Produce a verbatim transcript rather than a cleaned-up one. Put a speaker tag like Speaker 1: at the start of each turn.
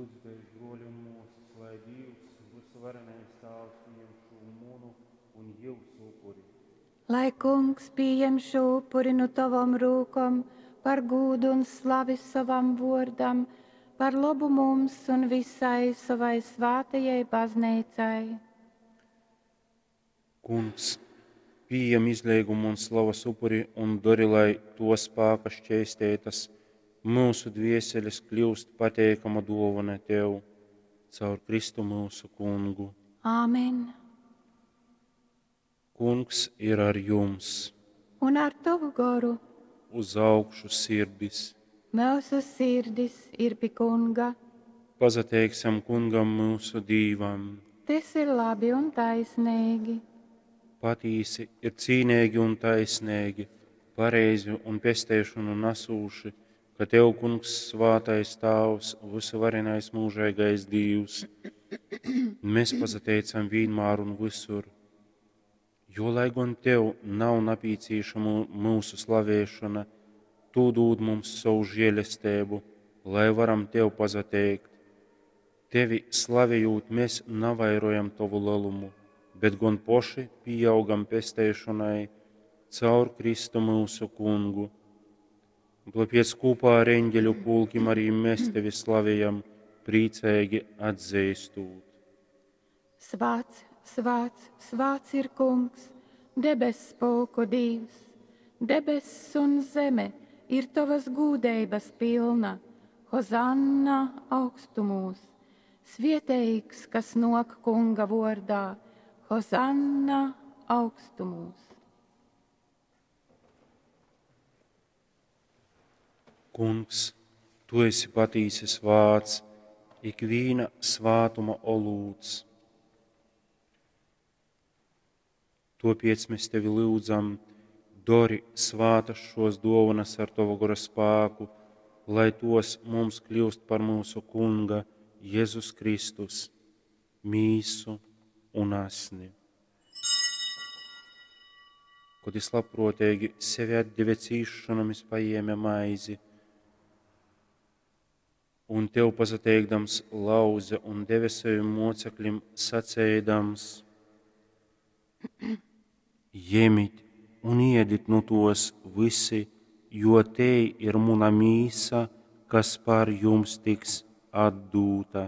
Speaker 1: Lyudzitēs, bruoļi un muosys, lai Dīvs, vysuvarenais Tāvs, pījem šū munu un jiusu upuri.
Speaker 2: Lai Kungs pījem šū upuri nu tovom rūkom par gūdu un slavi sovam vuordam, par lobu mums un visai sovai svātajai bazneicai.
Speaker 1: Kungs, pījem izleigumu un slavas upuri un dori, lai tuo spāka šķeisteitas myusu dvieselis kļiust pateikama duovona Tev caur Kristu myusu Kungu.
Speaker 2: Āmen.
Speaker 1: Kungs ir ar jums.
Speaker 2: Un ar tovu goru.
Speaker 1: Uz augšu sirdis.
Speaker 2: Myusu sirdis ir pi Kunga.
Speaker 1: Pasateiksim Kungam myusu Dīvam.
Speaker 2: Tys ir labi un taisneigi.
Speaker 1: Patīsi ir cīneigi un taisneigi, pareizi un pesteišonu nasūši, ka Tev, Kungs, svātais Tāvs, vysuvarenais mūžeigais Dīvs, mēs pasateicam vīnmār un visur, jo, lai gon Tev nav napīcīšama myusu slavēšona, Tu dūd mums savu žēlestību, lai varam Tev pasateikt. Tevi slavējot, mēs navairojam Tovu lelumu, bet gon poši pieaugam pesteišonai caur Kristu myusu Kungu. Un tāpēc kopā ar eņģeļu pulkim arī mēs Tevi slavējam, priecīgi atzīstot.
Speaker 2: Svāts, svāts, svāts ir Kungs, debess pulku Dīvs. Debess un zeme ir Tavas gūdeibas pilna. Hozanna augstumūs. Svieteigs, kas nok Kunga vordā. Hozanna augstumūs.
Speaker 1: Kungs, Tu esi patīsi svāts, ikvīna svātuma olūts. Topiec mēs Tevi lūdzam, dori svātas šos dovanas ar Tava gora spāku, lai tos mums kļūst par mūsu Kunga Jēzus Kristus mīsu un asni. Kad jis labprātīgi sevi atdeva cīšanom, jis paēma maizi un Tev pasateikdams lauze un deva saviem mocekļiem, sacēdams: Jemit un iedit nu tos visi, jo te ir muna mīsa, kas par jums tiks atdūta.